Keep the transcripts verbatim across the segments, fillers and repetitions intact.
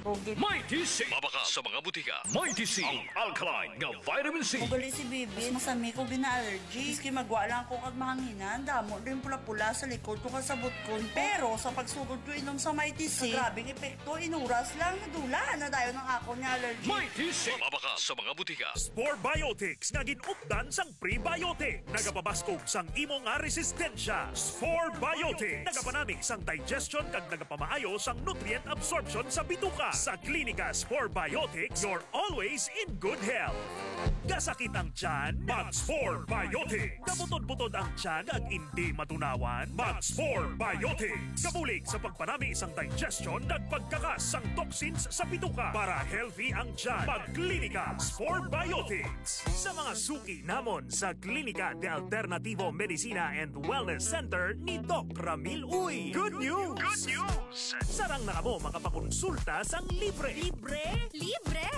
Pogi. Mighty C. Mabakal sa mga butika. Mighty C, ang alkaline nga vitamin C. Ugali si Bibi, mas masami ko gina-allergy. Maski magwa lang ako kag mahanginan, damo din pula-pula sa likod ko kag sa butkon ko. Pero sa pagsugod ko inom sa Mighty C, grabing epekto, inuras lang, nadula na dayon ang akon nga allergy. Mighty C. Mabakal sa mga butika. Spore Biotics nga gin-updan sang prebiotic. Nagapabaskog sang imo nga resistensya. Spore Biotics. Nagapanami sang digestion kag nagapamaayo sang nutrient absorption sa bituka. Sa Klinika Spore Biotics, you're always in good health. Kasakit ang tiyan? Mag Spore Biotics. Kabutod-butod ang tiyan kag indi matunawan? Mag Spore Biotics. Kabulig sa pagpanami sang digestion kag pagkakas sang toxins sa bituka para healthy ang tiyan. Mag Klinika Spore Biotics. Sa mga suki namon sa Klinika de Alternativo Medicina and Wellness Center ni Doc Ramil Uy. Good news! Good news! Sarang na kamo makapakonsulta sang libre. Libre? Libre!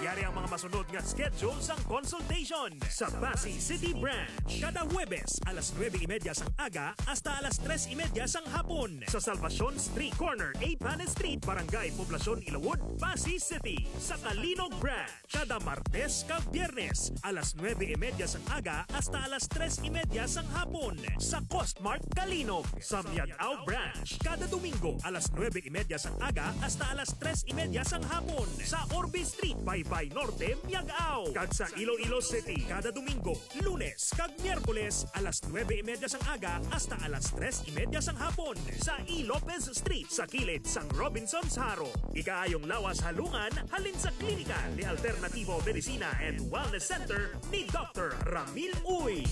Yari ang mga masunod nga schedule sang consultation. Sa Passi City Branch, kada Huwebes alas nuebe y media sang aga hasta alas tres y media sang hapon. Sa Salvacion Street, corner A Panes Street, Barangay Poblacion, Ilawod, Passi City. Sa Calinog Branch, kada Martes kag Biyernes, alas nuebe y media sang aga hasta alas tres y media sang hapon, sa Costmart Calinog. Sa Miag-ao Branch, kada Domingo, alas nuebe y media sang aga hasta alas tres y media sang hapon, sa Orbe Street, Baybay Norte, Miag-ao. Kag sa Iloilo City, kada Domingo, Lunes kag Miyerkules, alas nuebe y media sang aga hasta alas tres y media sang hapon, sa E. Lopez Street, sa kilid sang Robinsons Jaro. Ikaayong lawas halungan halin sa Klinika de Alternativo Medicina and Wellness Center ni Doctor Ramil Uy.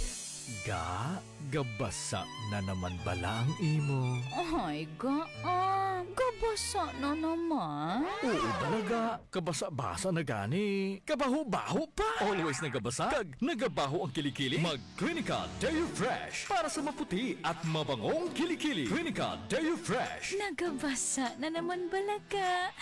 Ga, gabasa na naman bala ang imo? Ay, ga, ah, gabasa na naman. Oo, bala, ga. Kabasa-basa na gani. Kabaho-baho pa. Always nagabasa kag nagabaho ang kilikili. Mag Clinica Deo Fresh para sa maputi at mabangong kilikili. Clinica Deo Fresh. Nagabasa na naman bala ka.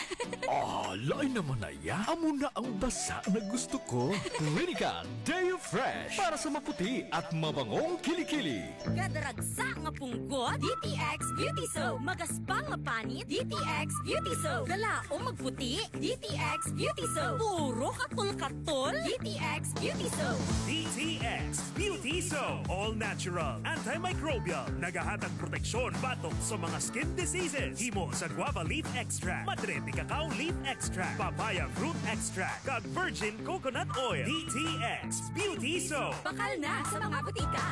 Ah, lain naman na ya. Amo na ang basa na gusto ko. Clinica Deo Fresh para sa maputi at mabangong kilikili. Kadaragsa nga punggot, D T X Beauty Soap. Magaspang nga panit, D T X Beauty Soap. Galaom magputi, D T X Beauty Soap. Puro katol-katol, D T X Beauty Soap. D T X Beauty Soap. All natural, antimicrobial. Nagahatag proteksyon batok sa mga skin diseases. Himo sa guava leaf extract, madre de cacao leaf extract, papaya fruit extract, kag virgin coconut oil. D T X Beauty Soap. Bakal na sa mga butika.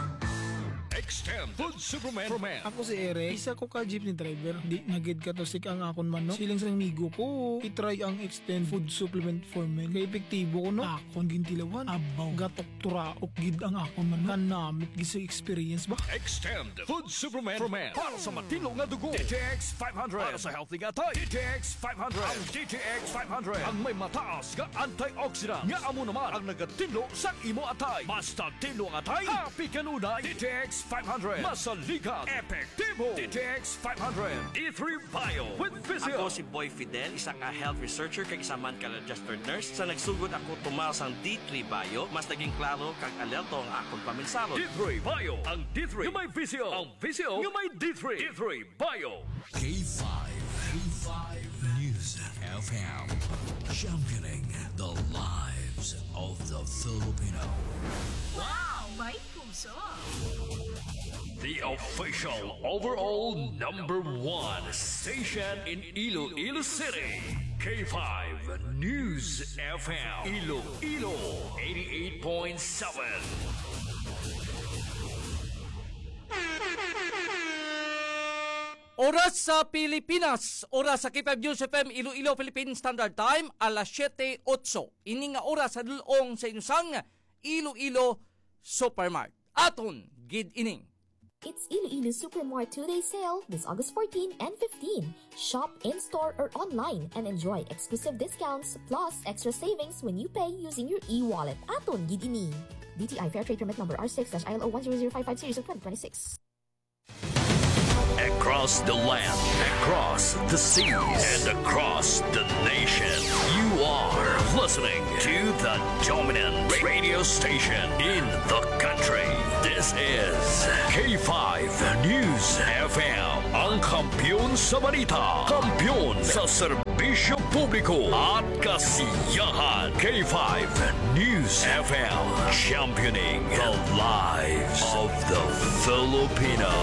Extend Food Supplement. Ako si Eric, isa ko ka jeepney driver. Di na gid katusik ang akon manok. Siling sa amigo ko, i-try ang Extend Food Supplement for Men. Kay epektibo ko, no? Akon gintilawan. Abaw, gatok turaok gid ang akon manok. Kanamit gid sa experience ba? Extend Food Supplement for Men. Para sa matinlo nga dugo, D T X five hundred. Para sa healthy nga atay, D T X five hundred. Ang D T X five hundred ang may mataas nga antioxidant, nga amo naman ang nagatinlo sa imo atay. Mas tatinlo ang atay, happy kanunay. D T X five hundred. Masaligan, epektibo. D T X five hundred. D three Bio with Visil. Ako si Boy Fidel, isa ka health researcher kag isa man ka registered nurse. Sa nagsugod ako tumal sang D three Bio, mas naging klaro kag alerto ang akon paminsaro. D three Bio, ang D three nga may Visil. Ang Visil nga may D three. D three Bio. K five, K five News F M, championing the lives of the Filipino. Wow, may puso. The official overall number one station in Iloilo City, K five News F M, Iloilo eighty-eight point seven. Oras sa Pilipinas, oras sa K five News F M Iloilo, Philippine Standard Time, alas siyete otso. Ini nga oras sa dul-ong sa inyo sang Iloilo Supermart. Aton gid ining. It's Iloilo Supermart two-day sale this August fourteen and fifteen. Shop in-store or online and enjoy exclusive discounts plus extra savings when you pay using your e-wallet. Aton gid ini. D T I Fair Trade Permit Number R six dash I L O one zero zero five five series of twenty twenty-six. Across the land, across the seas, and across the nation, you are listening to the dominant radio station in the country. This is K five News F M, ang kampiyon sa balita, kampiyon sa serbisyo. Publiko at kasiyahan. K five News F M, championing the lives of the Filipino.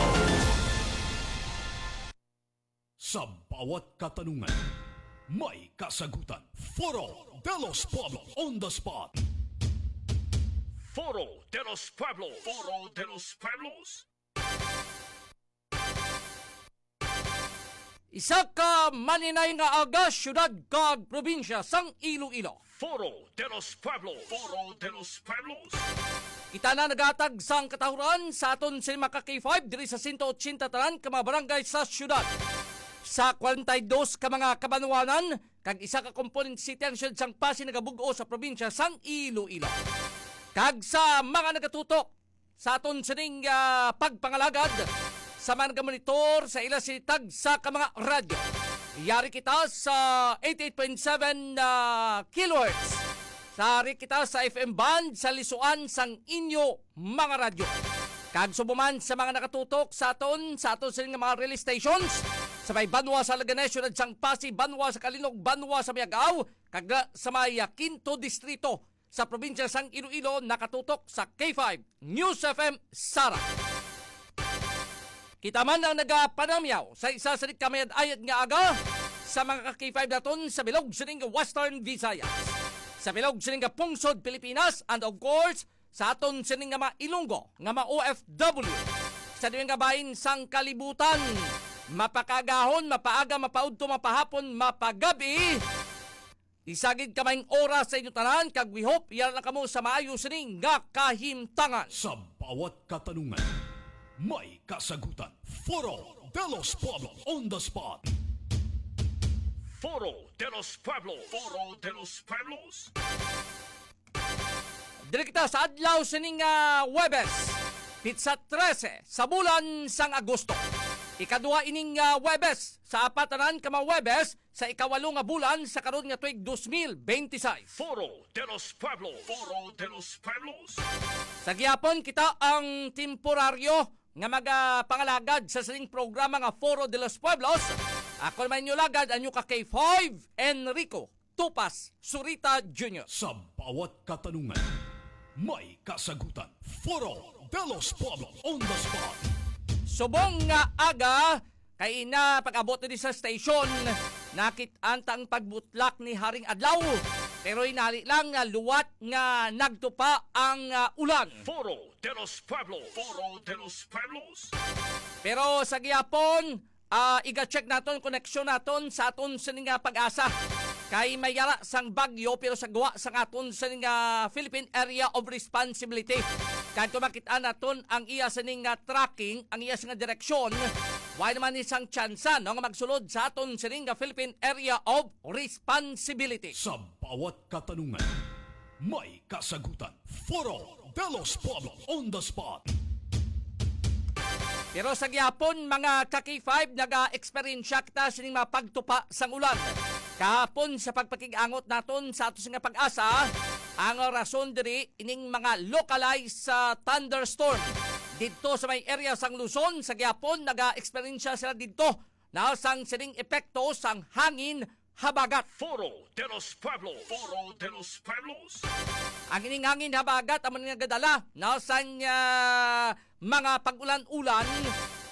Sa bawat katanungan, may kasagutan. Foro de los Pueblos on the spot. Foro de los Pueblos. Foro de los Pueblos. Isa ka maninay nga aga, syudad kag probinsya sang Iloilo. Foro de los Pueblos. Foro de los Pueblos. Kita na naghatag sang katahuran sa aton sini mga ka K five diri sa sento ochenta tanan ka mga barangay sa syudad. Sa kwarenta y dos ka mga kabanwanan, kag isa ka component city ang syudad sang Passi nagabug-os sa probinsya sang Iloilo. Kag sa mga nagatutok sa aton sining, ah, pagpangalagad sa mga nagamonitor sa ila sini tagsa ka mga radyo. Yari kita sa eighty-eight point seven, ah, kilohertz. Yari kita sa F M band sa lisuan sang inyo mga radyo. Kag subong man sa mga nakatutok sa aton, sa aton sining mga relay stations, sa may banwa sa Leganes, syudad sang Passi, banwa sa Calinog, banwa sa Miag-ao, kag sa may, ah, Quinto Distrito sa probinsya sang Iloilo, nakatutok sa K five News F M Sara. Kita man ang nagapanamyaw sa isa sa kamayad-ayad nga aga sa mga ka K five naton sa bilog sining Western Visayas, sa bilog sining Pungsod Pilipinas, and of course, sa aton sining nga mga Ilonggo nga mga O F W sa diin nga bahin sang kalibutan. Mapakagahon, mapaaga, mapaudto, mapahapon, mapagabi. Isa gid ka maayong oras sa inyo tanan, kag we hope yara lang kamo sa maayo sini nga kahimtangan. Sa bawat katanungan, may kasagutan. Foro de los Pueblos on the spot. Foro de los Pueblos. Foro de los Pueblos. Diri kita sa adlaw sining, ah, Huwebes, pitsa trese sa bulan sang Agosto. Ikaduha ining, ah, Huwebes sa apat tanan ka mga Huwebes sa ikawalo nga bulan sa karon nga tuig dos mil benti sais. Foro de los Pueblos. Foro de los Pueblos. Sa gihapon, kita ang temporaryo nga magapangalagad sa sining programa nga Foro de los Pueblos. Ako naman inyo lagad, ang inyo ka K five, Enrico Tupas Surita Junior. Sa bawat katanungan, may kasagutan. Foro de los Pueblos on the spot. Subong nga aga, kay na pag-abot diri sa station, nakit-an ta ang pagbutlak ni Haring Adlaw. Pero hinali lang nga luwat nga nagtupa ang, ah, ulan. Foro de los Pueblos. Foro de los Pueblos. Pero sa gihapon, ah, iga-check naton koneksyon naton sa aton sini nga PAGASA. Kay may yara sang bagyo pero sa guwa sang aton sini nga Philippine Area of Responsibility. Kag kung makita naton ang iya sini nga tracking, ang iya sini nga direksyon, wala naman ni sang tsansa, no, nga magsulod sa aton sini nga Philippine Area of Responsibility. Sa bawat katanungan, may kasagutan. Foro de los Pueblos on the spot. Pero sa gihapon, mga ka K five, naga-eksperyensya kita sining mga pagtupa sang ulan. Kahapon, sa pagpakig-angot naton sa ato nga PAGASA, ang rason diri ining mga localized, ah, thunderstorm didto sa may area sang Luzon. Sa gihapon, naga-eksperyensya sila didto na sang sining epekto sang hangin habagat. Foro de los Pueblos. Foro de los Pueblos. Ang ining hangin habagat amo ni nagadala, no, sang, ah, mga pag-ulan-ulan,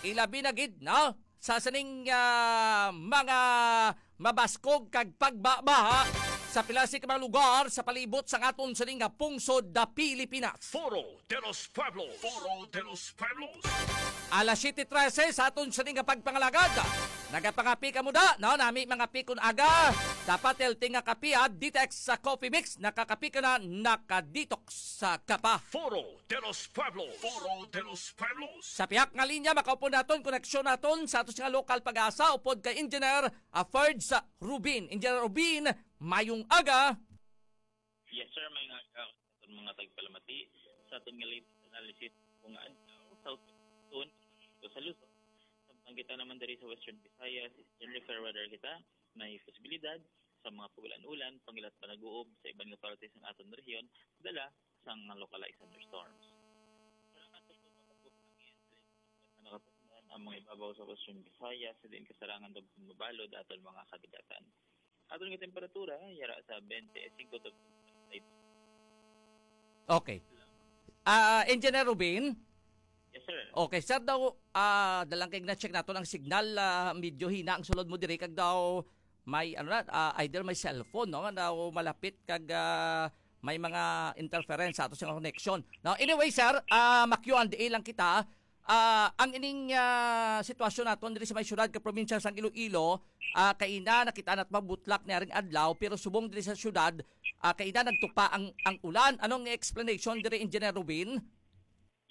ilabi na gid, no, sa sining, ah, mga mabaskog kag pagbabaha sa pila sa mga lugar sa palibot sang aton sining nga pungsod da Pilipinas. Foro de los Pueblos. Foro de los Pueblos. Alas siyete trese sa aton sining nga pagpangalagad. Nagapangapi ka mo da, no? Nami mga pikon aga. Dapat healthy nga kape, ha? Detox sa coffee mix. Nakakape ka na, nakadetox sa kapa. Foro de los Pueblos. Foro de los Pueblos. Sa pihak nga linya, makaupod naton, koneksyon naton sa aton nga lokal PAGASA, upod kay Engineer Aferds Rubin. Engineer Rubin, mayong aga. Yes, sir. May nga, uh, aton mga tagpalamati sa aton nga latest analysis kung adlaw, South Zone, sa Luzon. Samtang kita naman diri sa Western Visayas, Eastern Reef, fair weather kita. May posibilidad sa mga pag-ulan-ulan, pangilat pa nag-uob sa iban nga parte sa aton rehiyon, dala sang mga localized thunderstorms. Ang mga ibabaw sa Western Visayas, sa diin kasarangan daw mabalod aton mga kadagatan. Ang temperatura, yara sa twenty-five to twenty-eight. Okay. Ah, Engineer Rubin? Yes, sir. Okay, sir, daw, ah, dalang kay na-check naton ang signal, ah, medyo hina ang sulod mo diri, kag daw may, ano na, ah, either may cellphone, no, nga daw malapit, kag, ah, may mga interference sa ato sa connection. Now, anyway, sir, ah, ma-Q and A lang kita. Ah, ang ining, ah, sitwasyon naton diri sa may syudad ka probinsya sang Iloilo, ah, kaina nakita nat mabutlak ni aring adlaw, pero subong diri sa syudad, ah, kaina nagtupa ang, ang ulan. Anong explanation diri, Engineer Rubin?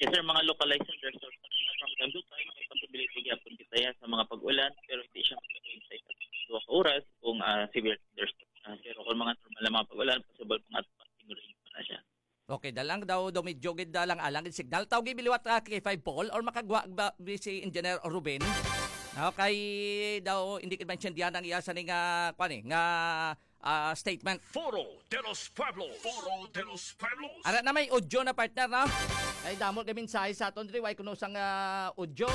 Yes, sir. Mga localized thunderstorms na from time to time, may possibility gyapon kita yan sa mga pag-ulan, pero hindi siya mag-rain sa isa sa duha ka oras kung, ah, severe thunderstorm na. Pero kung mga normal na mga pag-ulan, possible mga passing rain pa na siya. Okay, dalang daw, daw medyo gid dalang alang gid signal. Tawgi biliwat, ah, K five Paul or makagwa ba bi si Engineer Ruben? Okay, daw hindi gid maintindihan ang iya sa ni nga, kwan eh, nga, ah, statement. Foro de los Pueblos. Foro de los Pueblos. Ara na may audio na, partner, no? Ay, damo kay mensahe sa aton diri, way kuno sang, ah, audio.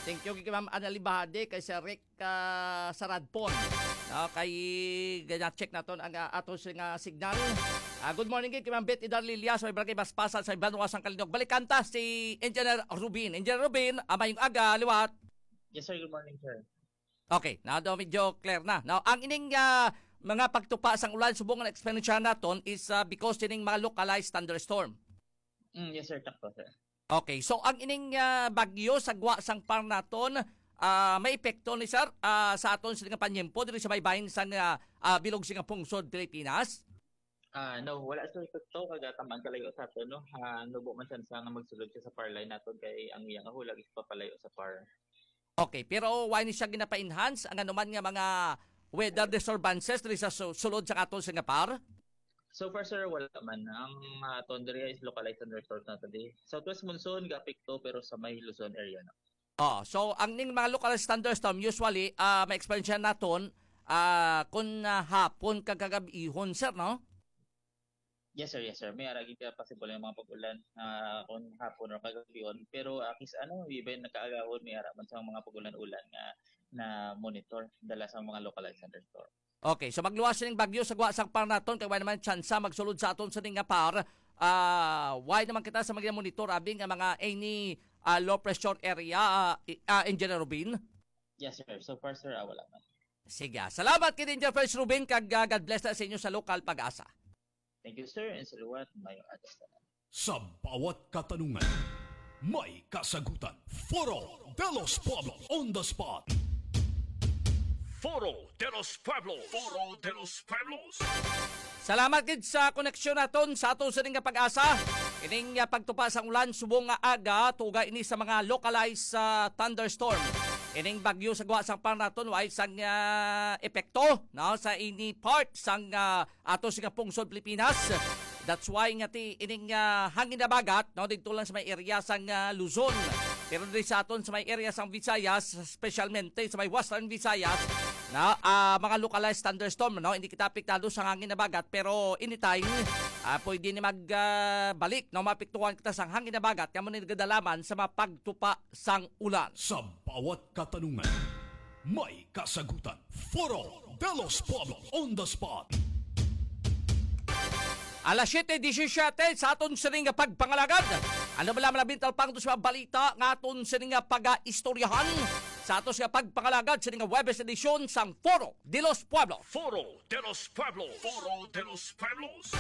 Thank you kay Ma'am Annalie Bahade, kay Sir Rick, ah, Saradpon. Okay, gana-check naton ang, ah, ato sing, ah, signal. Ah, good morning kay Ma'am Beth Idarlilia sa may Barangay Baspasan sa Banwa sang Kalinog. Balikan ta si Engineer Rubin. Engineer Rubin, ah, mayong aga, liwat. Yes, sir. Good morning, sir. Okay, na daw medyo clear na. Now, ang ining, ah, mga pagtupa sang ulan subong nga na-experience naton is, ah, because sining mga localized thunderstorm. Mm, yes, sir. Takto, sir. Okay, so ang ining, ah, bagyo sa gwa sang par naton, ah, may epekto ni, sir, ah, sa aton sini nga panyempo diri sa may bahin sang, ah, ah, bilog sini nga pungsod Pilipinas? Ah, no, wala, sir, epekto kag, ah, tamaan kalayo sa aton, no? Ah, nubo man siya nga magsulod siya sa par line naton kay ang iya nga hulag is papalayo sa par. Okay, pero wala ni siya ginapa-enhance ang anuman nga mga weather disturbances diri sa su-, sulod sa aton sini nga par? So far, sir, wala man. Ang, ah, aton diri is localized thunderstorms na to di. Southwest monsoon ga-apekto pero sa may Luzon area na. Oh, so ang ning mga localized thunderstorm usually, ah, may experience naton, ah, kun, ah, hapon kag kagab-ihon, sir, no? Yes, sir. Yes, sir. May ara gid ka possible nga mga pag-ulan, ah, kung hapon or kagabihon. Pero, ah, kis-, ano, even nakaagahon, may ara man sa mga pag-ulan-ulan nga na monitor dala sa mga localized thunderstorm. Okay, so magluwas sining bagyo sa gwa sang par naton, kay wala naman tsansa magsulod sa aton sa ning nga par. Ah, wala naman kita sa mga monitor abi nga mga any, ah, low pressure area, ah, i-, ah, Engineer Rubin? Yes, sir. So far, sir, ah, wala man. Sige, ah. Salamat kay Engineer First Rubin, kag, ah, God bless na sa inyo sa lokal pag-asa. Thank you, sir, and sa liwat, mayong aga sa tanan. Sa bawat katanungan, may kasagutan. Foro de los Pueblos on the spot. Foro de los Pueblos. Foro de los Pueblos. Salamat gid sa koneksyon naton sa aton sining nga pag-asa. Ining, ah, pagtupa sang ulan subong nga aga, tuga ini sa mga localized, ah, thunderstorm. Ining bagyo sa gwa sang par naton, way sang, ah, epekto, no, sa ini part sang, ah, ato sini nga pungsod Pilipinas. That's why nga ti ining, ah, hangin habagat, no, didto lang sa may area sang, ah, Luzon. Pero diri sa aton sa may area sang Visayas, specialmente sa may Western Visayas, na, ah, mga localized thunderstorm, no, hindi kita apektado sa hangin habagat, pero anytime, ah, pwede ni mag, ah, balik, no, maapektuhan kita sa hangin habagat, kamo ni nagadalaman sa mga pagtupa sang ulan. Sa bawat katanungan, may kasagutan. Foro de los Pueblos on the spot. Alas siyete disisiyete sa aton sining nga pagpangalagad. Ano bala malabing talpang to sa mga balita nga aton sining nga pag-istoryahan sa aton sining nga pagpangalagad sining nga Huwebes edisyon sang Foro de los Pueblos? Foro de los Pueblos. Foro de los Pueblos.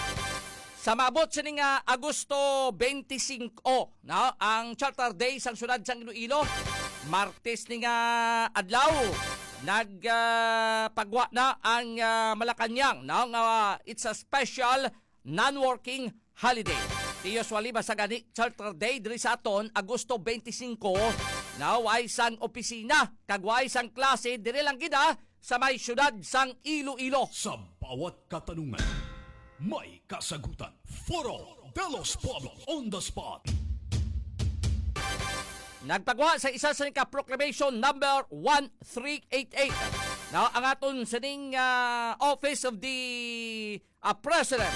Sa maabot sining nga Agosto twenty-five, no, ang Charter Day sang siyudad sang Iloilo. Martes ni nga adlaw, nag, ah, pagwa na ang, ah, Malacañang, no, nga it's a special non-working holiday. Ti usually, basta gani Charter Day diri sa aton, Agosto twenty-five, no, way sang opisina, kag way sang klase, diri lang gid, ah, sa may siyudad sang Iloilo. Sa bawat katanungan, may kasagutan. Foro de los Pueblos on the spot. Nagpagwa sa isa sa ka proclamation number one three eight eight. Now, ang aton sining, ah, Office of the, ah, President,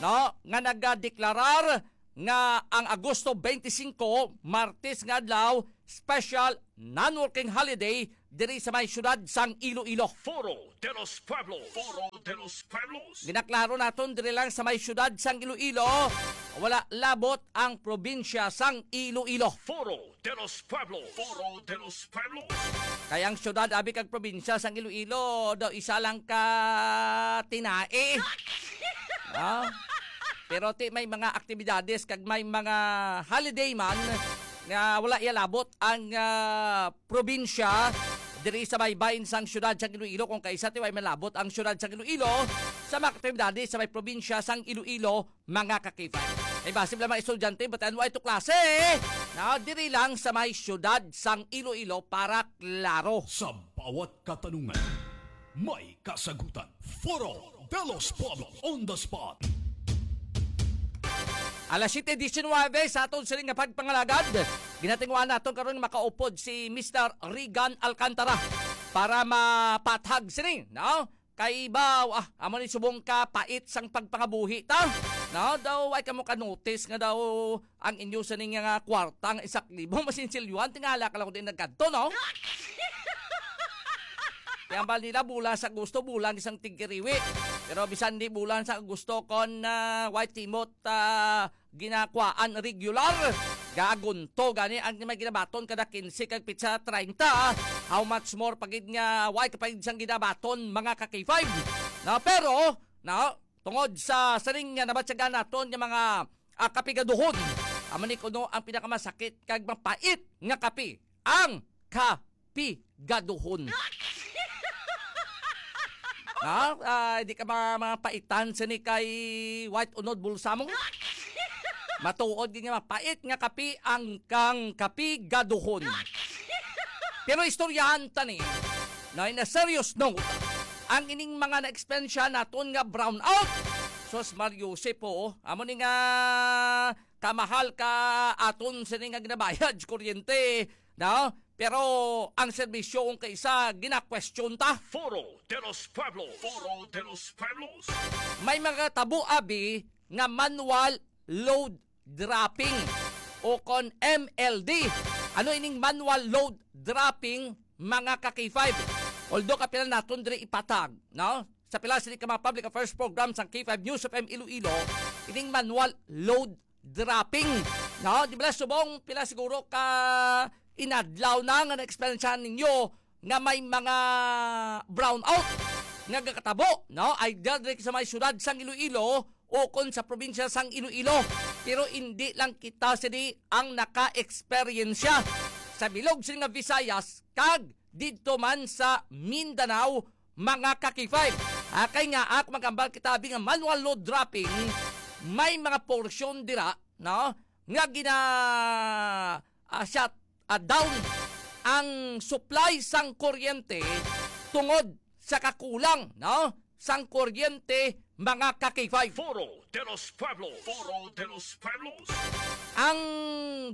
no, nga nagadeklarar nga ang Agosto twenty-five, Martes nga adlaw, special non-working holiday diri sa may siyudad sang Iloilo. Foro de los Pueblos. Foro de los Pueblos. Ginaklaro naton diri lang sa may siyudad sang Iloilo, wala labot ang probinsya sang Iloilo. Foro de los Pueblos. Foro de los Pueblos. Kay ang siyudad, abi, kag probinsya sang Iloilo daw isa lang ka tinae. Ah? Pero ti may mga aktibidades kag may mga holiday man nga wala iya labot ang, ah, probinsya diri sa baybayon sang siyudad sang Iloilo, kung kaisa ti way malabot ang siyudad sang Iloilo sa mga aktibidades sa may probinsya sang Iloilo, mga ka-K five. Ay, basi lang mga estudyante, but ano ay to klase? Na, diri lang sa may siyudad sang Iloilo para klaro. Sa bawat katanungan, may kasagutan. Foro de los Pueblos on the spot. Alas siyete diecinuebe sa aton sini nga pagpangalagad. Ginatinguan naton karon makaupod si Mister Regan Alcantara para mapathag sini, no? Kay ba, ah, amo ni subong ka pait sang pagpangabuhi ta, no? Daw ay kamo ka-notice nga daw ang inyo sini nga kwarta nga isa ka libo masinsilyuhan, tingala ka lang kung di nagkadto, no? Kaya ba nila bulan sa Agosto, bulan isang tigkiriwi. Pero bisan di bulan sa Agosto, kon, ah, way timot, ah, ginakwaan regular, gagunto gani ang may ginabaton kada kinse kag pitsa treinta. How much more pagid nga way kapagid sang ginabaton, mga ka-K five? Na, pero, na, tungod sa sining nga nabatyagan naton nga mga, ah, kapigaduhon, amo ni kuno ang pinakamasakit kag mapait nga kape, ang kapigaduhon. Ha? Ah, di ka ma-, mapaitan sini kay White Unod Bulsa mo? Matuod gid nga mapait nga kape ang kang kapigaduhon. Pero istoryahan ta ni, na, in a serious note, ang ining mga na-experience naton nga brownout. Sus, Mario Jose po, amo ni nga kamahal ka aton sini nga ginabayad sa kuryente, no? Pero ang serbisyo kung kaisa gina-question ta. Foro de los Pueblos. Foro de los Pueblos. May mga tabo, abi, nga manual load dropping o kon M L D. Ano ining manual load dropping, mga ka-K five? Although kapila naton diri ipatag, no? Sa pila sini ka mga public affairs program sang K five News F M Iloilo, ining manual load dropping, no? Di ba, subong pila siguro ka inadlaw na nga na-experiencehan ninyo nga may mga brownout nga gakatabo, no? Either diri sa may siyudad sang Iloilo o kon sa probinsya sang Iloilo. Pero indi lang kita sini ang naka-eksperyensya sa bilog sini nga Visayas kag didto man sa Mindanao, mga ka-K five. Ah, kay nga, ak, magambal kita, abi, nga manual load dropping, may mga porsyon dira, no, nga gina, ah, shut, ah, down ang supply sang kuryente tungod sa kakulang, no, sang kuryente, mga ka-K five. Foro de los Pueblos. Foro de los Pueblos. Ang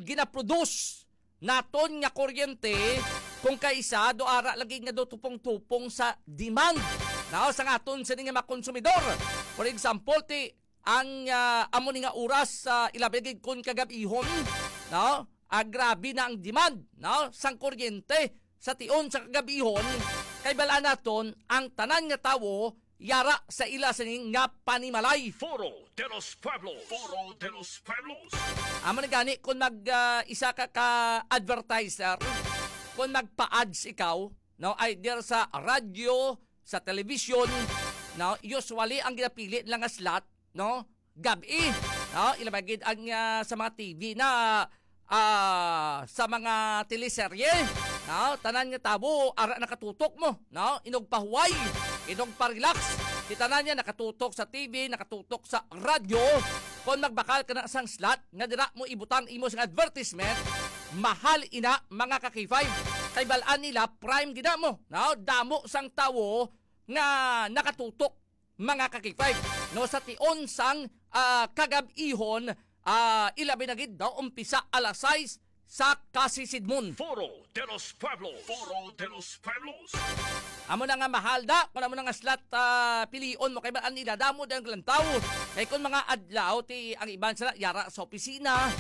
ginaproduce naton nga kuryente, kung kaisa, do ara lagi nga do tupong-tupong sa demand, no, sa aton sini nga mga konsumidor. For example, ti ang, ah, amo ni nga oras, ah, ilabi gid kon kagab-ihon, no? Ah, grabe na ang demand, no, sang kuryente sa tion sa kagab-ihon, kay bal-an naton ang tanan nga tawo yara sa ila sini nga panimalay. Foro de los Pueblos. Foro de los Pueblos. Amo na gani, kung mag, ah, isa ka ka advertiser, kung magpa-ads ikaw, no, either sa radyo, sa telebisyon, no, usually ang ginapili nila nga slot, no, gab-i, no, ilabi gid ang, ah, sa mga T V na, ah, sa mga teleserye, no, tanan nga tawo ara nakatutok mo, no, inugpahuway, inugparelax, ti tanan niya nakatutok sa T V, nakatutok sa radyo. Kon magbakal ka na sang slot nga dira mo ibutang imo sang advertisement, mahal ina, mga ka-K five. Kay bal-an nila, prime gid na mo, no, damo sang tawo nga nakatutok, mga ka-K five, no, sa tion sang, ah, kagab-ihon, ah, ilabi na gid daw umpisa alas sais sa kasisidmon. Foro de los Pueblos. Foro de los Pueblos. Amo na nga mahal da, kung amo na nga slot, ah, pilion mo, kay bal-an nila, damo daw ang lantaw. Kay kung mga adlaw, ti ang iban sila yara sa opisina,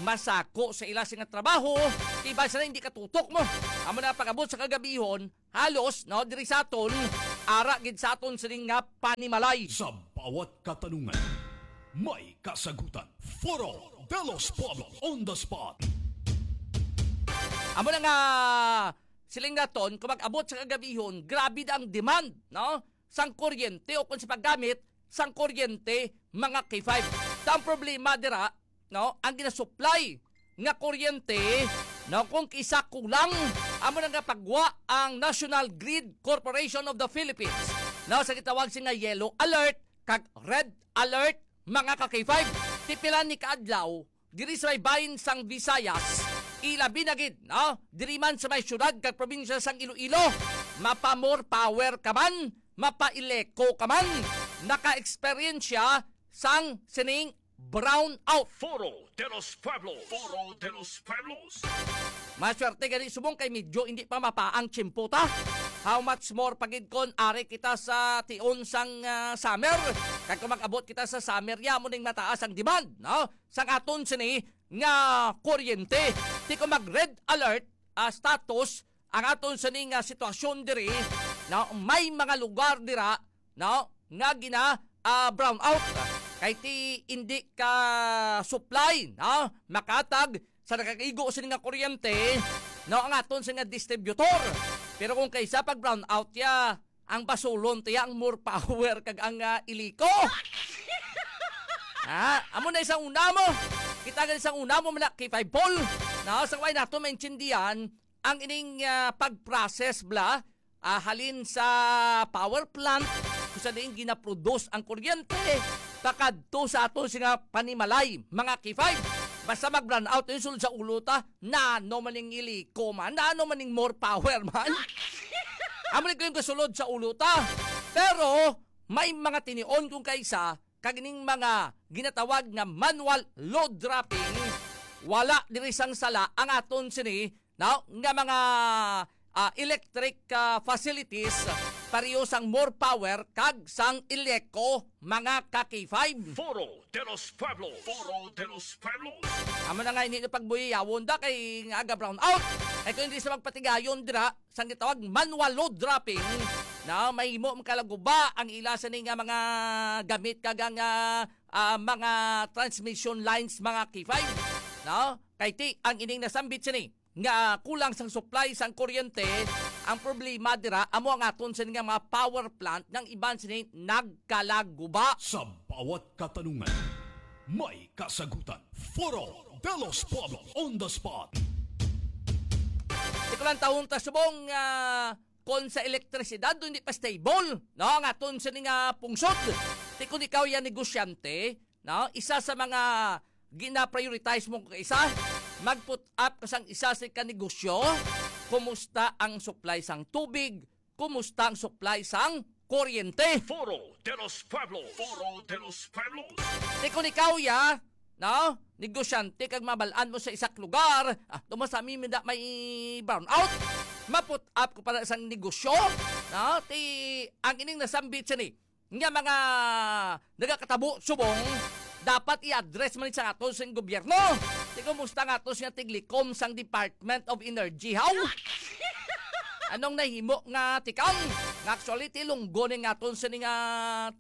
masako sa ila sing trabaho, ti bisan na hindi katutok mo. Amo na pag-abot sa kagabihon, halos, no, diri sa aton, ara gid sa aton sining nga panimalay. Sa bawat katanungan, may kasagutan. Foro de los Pueblos on the spot. Amo na nga, siling naton, kung mag-abot sa kagabihon, grabe na ang demand, no? Sang kuryente o kung sa paggamit sang kuryente, mga K five. Ta ang problema dira, no, ang ginasupply nga kuryente, no, kung kisa kulang, amo na nga pagwa ang National Grid Corporation of the Philippines, no, sa gitawag sini nga yellow alert kag red alert, mga ka K five. Ti pila ni kaadlaw, diri sa may bahin sang Visayas, ilabi na gid, no? Diri man sa may syudad kag probinsya sang Iloilo, mapa more power ka man, mapa Eleco ka man, naka-eksperyensya sang sining brown out. Foro de los Pueblos. Foro de los Pueblos. Maswerte gani subong kay medyo hindi pa mapaang tiyempo ta. How much more pa gid kon ari kita sa tion sang, ah, summer? Kag kung mag-abot kita sa summer, ya mo ning mataas ang demand, no? Sang aton sini nga kuryente. Ti kung mag red alert, ah, status ang aton sini nga sitwasyon diri, no? May mga lugar dira, no, nga gina, ah, brown out. Kay ti indi ka supply, no, makatag sa nakaigo sini nga kuryente, no, ang aton sini nga distributor. Pero kung kaysa pag brown out ya, ang basulon tiya ang more power kag ang, ah, Eleco. Ha? Amo na isang una mo. Kita gani sang una mo, mga K five Paul. No, sa way nato maintindihan ang ining, ah, pag-process bla, ah, halin sa power plant kung sa diin ginaproduce ang kuryente, pakadto sa aton sini nga panimalay, mga K five. Basta mag-brown out yung sulod sa ulo ta, nano man ning Eleco man, nano man ning more power man. Amo ni ko yung kasulod sa ulo ta. Pero may mga tinion kung kaisa, kag ning mga ginatawag nga manual load dropping, wala diri sang sala ang aton sini, no, nga mga, ah, electric, ah, facilities, pareho sang more power kag sang Eleco, mga ka K five. Foro de los Pueblos. Foro de los Pueblos. Amo na nga, hindi na pagbuyayawon da kay nga aga brown out. Ay kung hindi sa magpatigayon dira, sang gitawag manual load dropping, na mahimo makalaguba ang ila sini nga mga gamit kag ang, ah, ah, mga transmission lines, mga K five, no? Kay ti ang ining nasambit sini nga kulang sang supply sang kuryente, ang problema dira amo ang aton sini nga mga power plant nga ang iban sini nagkalaguba. Sa bawat katanungan, may kasagutan. Foro de los Pueblos on the spot. Di ko lang taon ta subong, ah, kon sa elektrisidad, hindi pa stable, no, ang aton sini nga pungsod. Ti kon ikaw yan negosyante, no, isa sa mga gina-prioritize mo kung isa, mag-put up ka sang isa sa ka negosyo, kumusta ang supply sang tubig, kumusta ang supply sang kuryente. Foro de los Pueblos. Foro de los Pueblos. Ti kon ikaw ya, no, negosyante kag mabalaan mo sa isak lugar, ah, tumo sa amin, minda may brown out. Ma-put up ko pala sang negosyo, no? Ti ang ining nasambit sini nga mga nagakatabo subong, dapat i-address man sa ato sa gobyerno. Ti kumusta nga ato sa tiglikom sang Department of Energy, haw? Anong nahimo nga tikang? Nga actually, ti lunggo ni nga aton sini nga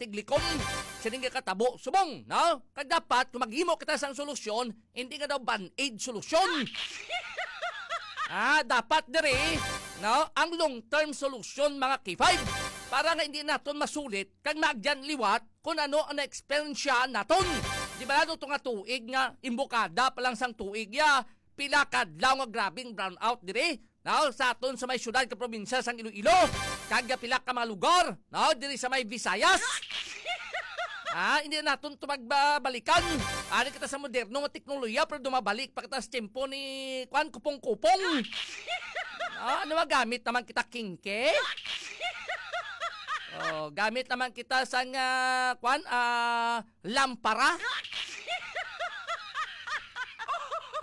tiglikom, sini nga katabo subong, no? Kag dapat, kung maghimo kita sang solusyon, hindi nga daw band-aid solusyon. Ah, dapat diri, no, ang long-term solusyon, mga K five, para nga hindi naton masulit kag maagyan liwat kung ano ang na-experience naton. Di ba, ano to nga tuig nga imbukada pa lang sang tuig ya, pila kadlaw nga grabing brownout diri, no, sa aton sa may syudad ka probinsya sang Iloilo, kag pila ka mga lugar, no, diri sa may Visayas. Ah, hindi naton to magbalikan. Ari kita sa moderno nga teknolohiya, pero dumabalik pa kita sa tiyempo ni, kwan, kupong-kupong. Ah, ano ba, gamit naman kita kingke? Oh, gamit naman kita sang, ah, kwan, ah, lampara.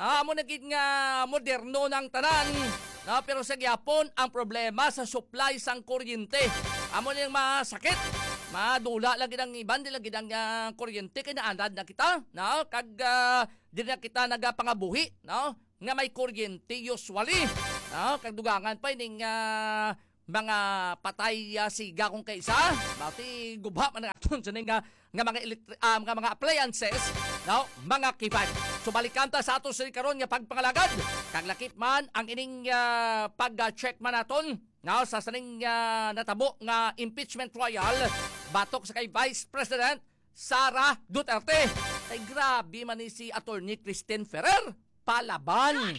Ah, amo na gid nga moderno ng tanan. No, pero sa gyapon, ang problema sa supply sang kuryente. Amo ni ang masakit. Madula lagi ang iban, di lagi ang, ah, kuryente, kay naanad na kita, no? Kag, ah, di na kita nagapangabuhi, no? Nga may kuryente usually, no? Kag dugangan pa ining, ah, mga patay, ah, siga kung kaisa. Bati gubha man ang aton sa ning, ah, nga mga electri-, ah, nga mga appliances, no? Mga K five. So, balikan ta sa ato sa karon nga pagpangalagad. Kag lakip man ang ining, ah, pag-check man naton, no, sa sining, ah, natabo nga impeachment trial batok sa kay Vice President Sara Duterte. Kay grabe man ni si Attorney Christine Ferrer. Palaban.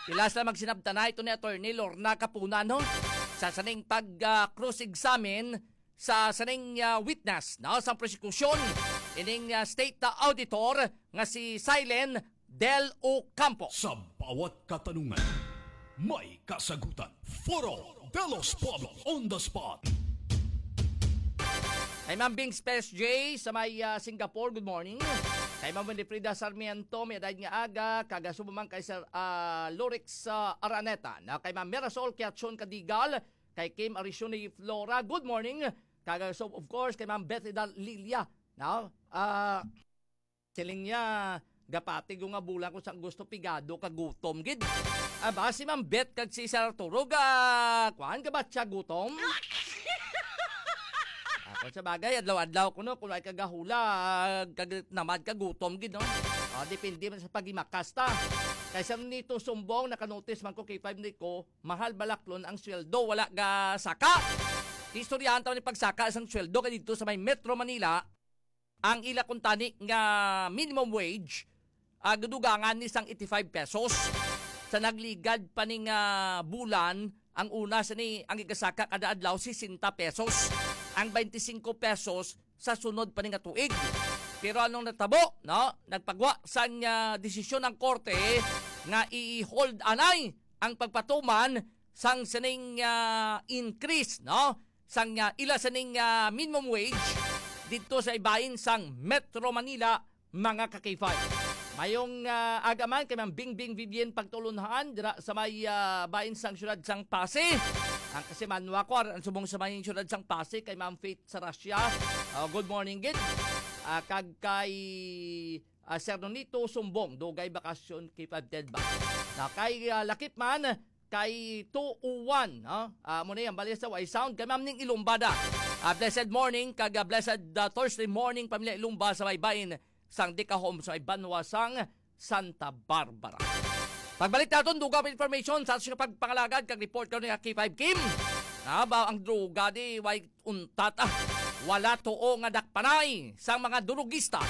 Pila sila magsinabtanay ito ni Attorney Lorna Capuna, no? Sa sining pag, ah, cross-examine sa sining, ah, witness, no? Sa prosekusyon, ining, ah, state, ah, auditor nga si Silen Del Ocampo. Sa bawat katanungan, may kasagutan. Foro de los Pueblos on the spot. Kay Ma'am Bing Space J sa may, ah, Singapore, good morning. Kay Ma'am Winifrida Sarmiento, may adlaw nga aga, kag subong man kay Sir, ah, Lorix, ah, Araneta, na kay Ma'am Mirasol Kiachon Kadigal, kay Kim Arisione Flora, good morning. Kag so, of course, kay Ma'am Bethida Lilia, no? Ah, siling niya, gapati ko nga bulan ko sa gusto pigado ka gutom gid. Aba, si Ma'am Beth kag si Sir Arturo ga, kuan, gabatya gutom? Ako sa bagay, adlaw-adlaw ko, no, kung ay kagahula, kag namad ka gutom gid, no? Ah, depende man sa pagimakas ta. Kay Sir Nito Sumbong, nakanotis man ko kay five ni ko, mahal balaklon ang sweldo, wala ga saka. Istoryahan taon ni pagsaka sang sweldo kay dito sa may Metro Manila, ang ila kuntani nga minimum wage, ah, gadugangan ni sang eighty-five pesos. Sa nagligad pa ni nga bulan, ang una sa ni ang igasaka kada adlaw sixty pesos, ang twenty-five pesos sa sunod pa ni nga tuig. Pero anong natabo, no? Nagpagwa sang, ah, desisyon ang korte nga i-hold anay ang pagpatuman sang sining, ah, increase, no? Sang, ah, ila sining, ah, minimum wage dito sa ibahin sang Metro Manila, mga ka-K five. Mayong, ah, aga man kay Ma'am Bingbing Vivian Pagtulunhan dira sa may, ah, bahin sang siyudad sang Passi. Ang kasi manwa ko, ang subong sa may siyudad sang Passi kay Ma'am Faith Sarasya. Ah, good morning gid. Ah, kag kay, ah, Sir Nonito Sumbong, dugay bakasyon kay five ten ba? Na kay, ah, lakip man, kay two oh one, no? Ah, mo na yan, bali sa way sound. Kay Ma'am Ning Ilumbada. Ah, blessed morning, kag, ah, blessed, ah, Thursday morning, pamilya Ilumba sa may bahin sang Dika Home sa may banwa sang Santa Barbara. Pagbalik naton, dugang information sa ato nga pagpangalagad kag report karon ni K five Kim. Na ba ang droga di way untat, ah? Wala tuo nga dakpanay sang mga durugista.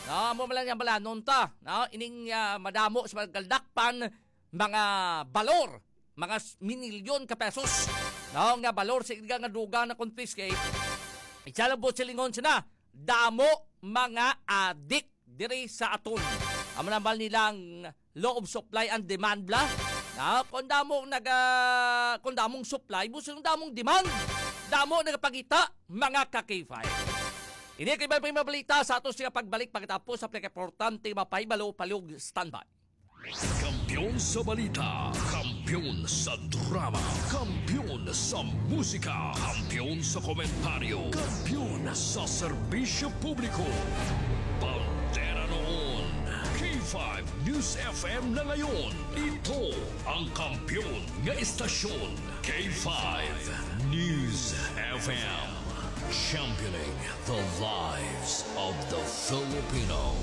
Na mo man lang yung balanon ta. Na ining, ah, madamo sa pagkaldakpan mga balor, mga s-, minilyon ka pesos, no, nga balor sa illegal nga droga na confiscate. Isa lang po silingon sila, damo mga adik diri sa aton. Amo naman nilang law of supply and demand bla. Na, kung damo naga, kung damong supply, mo silang damong demand. Damo nagapagita, mga ka-K five. Ini kay may mabalita sa ato siya pagbalik pagkatapos sa pinakaimportante mapahibalo, palihog standby. Kampiyon sa balita, kampiyon sa drama, kampiyon sa musika, kampiyon sa komentaryo, kampiyon sa serbisyo publiko. Bandera noon, K five News F M na ngayon. Ito ang kampiyon nga istasyon, K five News F M. Championing the lives of the Filipino.